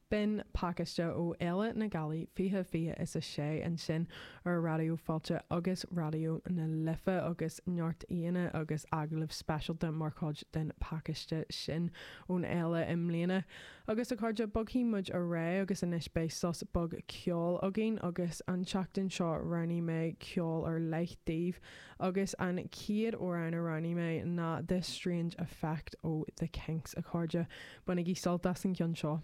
B'in pacáiste ó Fhéile na Gealaí 2026 ansin ar Raidió Fáilte agus Raidió na Life agus neart aíonna agus agallaimh speisialta mar chuid den phacáiste sin ón fhéile i mbliana. Agus a chairde, bogfaidh muid ar aghaidh agus anois beidh sos beag ceoil againn agus an tseachtain seo roghnaigh mé ceol ar leith daoibh agus an chéad amhrán a roghnaigh mé ná This Strange Effect ó The Kinks a chairde. Bainigí sult as an gceann seo.